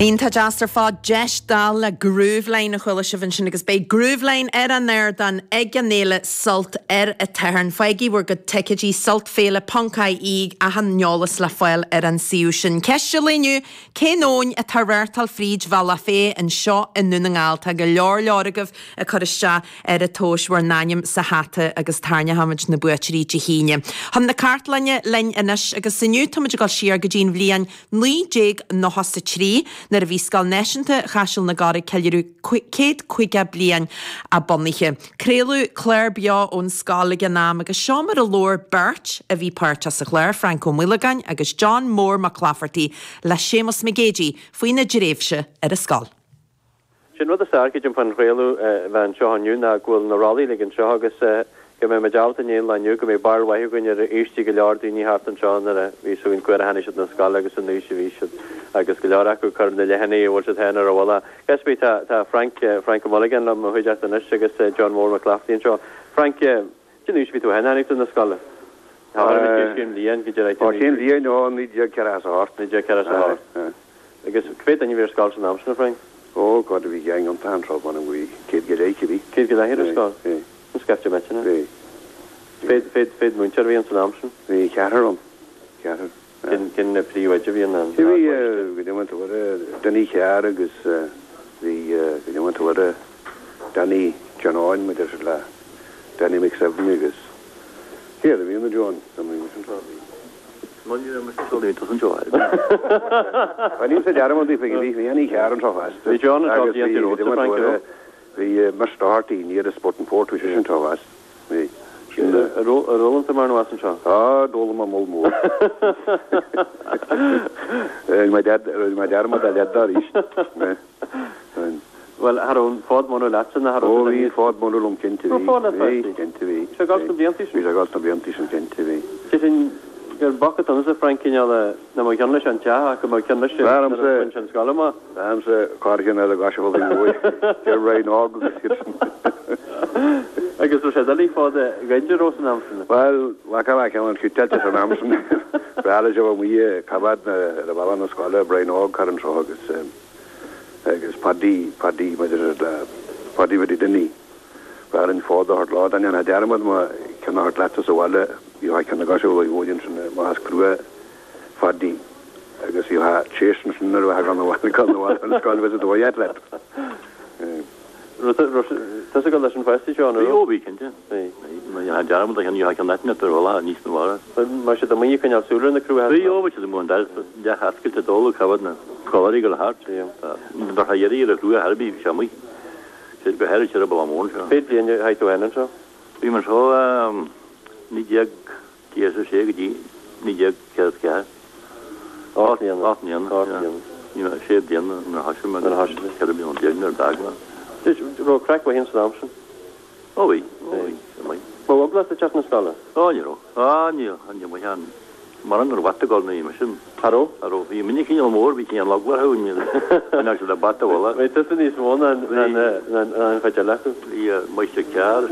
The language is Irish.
Iontach deas ar fad, deis dall le Grooveline a chuala sibh ansin agus beidh Grooveline ar an ardán ag an fhéile Sult ar an tSatharn. Faighigí bhur gcuid ticéidí sultféile ponc ie achan eolas le fáil ar an suíomh sin. Ceist an lae inniu, cén abhainn atá ag reáchtáil fríd Bhealach Féich anseo i nDún na nGall? Tá go leor leor agaibh ag cur isteach ar an tomhais bhur n-ainm sa hata agus tarraingeochaimid na buaiteoirí Dé hAoine. Chun na cartlainne linn anois agus inniu táimid ag dul siar go dtí an bhliain 1993, nuair a bhí Scoil Náisiúnta Chaiseal na gCorr ag ceiliúradh 150 bliain a bunaithe. Craoladh clár beo ón scoil ag an am agus seo mar a labhair beirt a bhí páirteach sa chlár, Frainc Ó Maolagáin agus John Mór Mac Laifeartaigh le Séamus Mac Géidigh faoina dtréimhse ar an scoil. Sé an rud is fearr, creidim, fán chraoladh a bheith anseo inniu ná go bhfuil na rollaí uilig anseo agus go mbeidh muid ábalta i ndiaidh an lae inniu go mbeidh barúil mhaith againn ar aoistí go leor daoine thart anseo nuair a bhí fhios againn cá huair a tháinig siad 'na scoile agus an aois a bhí siad agus go leor acu ag cur na leathanaigh an bhfuil siad féin ar a bhfuil. Ach cibé, tá tá Frank, Frank Ó Maolagáin liom i mo chuideachta anois agus John Mór Mac Laifeartaigh anseo. Frank, cén aois a bhí tú féin tháinig tú 'na scoile? Tá orm cén bhliain go díreach? Ó cén bhliain? Ó 1948. 1948. Agus cá mhéad duine a bhí ar scoil san am sin, a Frank? Ó, God, bhí gang iontach anseo, m'anam go bhí 100 go leith, cibé. 100 go leith ar an scoil? Bhí. An scaifte maith sin, eh? Bhí. Cé mhéad múinteoir a bhí ann san am sin? Bhí ceathrar ann. Ceathrar. Cén, cén príomhoide a bhí ann? Bhí, go deimhin tú air, Danny Carr agus bhí, go deimhin tú air, Danny John Eoin, maidir le Danny McSevney agus cé eile a bhí ann, a John? Bhí mise anseo, bhí. Níl dearmad faoi bhí bhí Carr anseo fosta. Bhí John anseo blianta romhat, a Frank, an raibh? Bhí Mr Doherty near the Sport and Port, bhí seisean anseo fosta. Bhí. Ar fhoghlaim tú mórán as anseo? Á, d'fhoghlaim mé moll mór. Rinne mé dearmad a leath de arís. Bhuel, cha raibh an fód munú leatsa, ná cha raibh Ó, bhí an fód munú liom, cinnte, bhí. Raibh fód leat Bhí, cinnte, bhí. Bhí sé ag gabháil sna blianta sin? Bhí sé ag gabháil sna blianta sin, cinnte, bhí. Sé sin gur b'fhacthas domsa, Frank, cineál a, nach mbeadh ceann leis an teach ach go mbeadh ceann leis an, nuair a bhain sé an scoil amach. B'fhearr liomsa corrcheann eile gach a bhfuil faoi bhuaidh, deir Ryan Óg agus iad sin. Agus raibh sé doiligh fód a ghoid, an raibh san am sin? Bhuel, bheadh a bheadh ceann suiteáilte san am sin. B'fhearr leis a bheith amuigh ag coimhéad na, ar an bhealach na scoile, Brian Óg thar anseo agus. agus Paddy, Paddy, maidir le Paddy Bhiddy Dinny, b'fhearr an fód a thabhairt leo, dá ndéanfá dearmad mo cheann a thabhairt leatsa sa bhaile, bhíodh ceann acu siúd ag bhuail ansin amach as crua Phaddy agus bhíodh tséis ansin nuair a bheifeá gan abhaile, gan abhaile an scoil bheith sa dóigh ait leat. Raibh tusa ag dul leis an pháistí seo, an raibh? Bhí, ó bhí, cinnte. Bhí. Má dhéanfá dearmad a cheann, gheofá ceann leat ar bhealach aníos na bharra. Mar siad amuigh ag coinneáil súil ar na cruacha. Bhí, ó bhí siad amuigh an doras leath oscailte ag dul ag coimhéad na scoláirí ag dul thart. Bheadh a iarraidh ar a chrua thar bith, bhí sé amuigh. Sé go háirid ar an Bhaile Mór anseo. Cé mhéad bliain a chaith tú féin anseo? Bhí mé anseo 1946 go dtí 1944. 8 mbliana. 8 mbliana. 8 mbliana. Ní raibh sé bliana nuair a thoisigh mé agus 14 bliana nuair a d'fhág mé. Raibh craic mhaith ann san am sin? Ó bhí, ó bhí, bhí maith. Raibh eagla ort ag teacht na scoile? Ó ní raibh. Á ní raibh, ní raibh ann. Mura raibh bata ag dul ní raibh sin. Cha raibh? Cha raibh. Bhí mine cineál mór, bhí cineál eagla orthu, ní raibh siad ag bata a bhualadh. Bhí tusa níos mó ná an chuid eile acu. Bhí Máistir Carr.